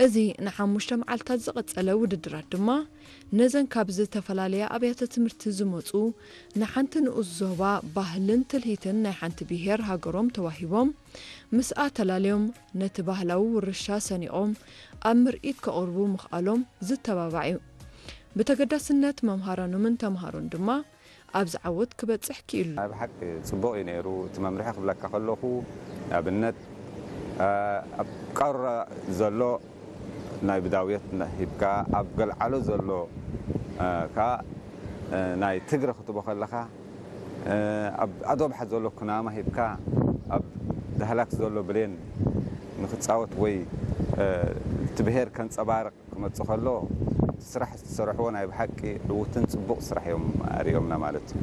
እዚ ንሓሙሽተ መዓልታት ዝቐጸለ ውድድራት ድማ ነዘን ካብ ዝተፈላለያ ኣብያተ ትምህርቲ ዝመጹ ንሓንቲ ንኡስ ዞባ ባህልን ትልሂትን ናይ ሓንቲ ብሄር ሃገሮም ተዋሂቦም ምስኣ ተላልዮም ነቲ ባህላዊ ውርሻ ሰኒቖም ኣብ ምርኢት ከቕርቡ ምኽኣሎም ዝተባባዕ እዩ። ብተገዳስነት መምሃራኖምን ተምሃሮን ድማ ኣብዚ ዓወት ክበጽሕ ክኢሉ። ናይ ብሓቂ ጽቡቕ እዩ ነይሩ እቲ መምርሒ ክብለካ ከለኹ ንኣብነት ኣብ ቃራ ዘሎ ናይ ብዳውየት ሂብካ ኣብ ገልዓሎ ዘሎ ከ ናይ ትግረ ክትቦ ከለኻ ኣብ ኣዶብሓ ዘሎ ኩናማ ሂብካ ኣብ ዳህላክ ዘሎ ብሌን ንክጻወት ወይ እቲ ብሄር ከንጸባርቕ ክመጽእ ከሎ እቲ ስራሕ ዝተሰርሕዎ ናይ ብሓቂ ዕዉትን ጽቡቕ ስራሕ እዮም ኣርእዮምና ማለት እዩ።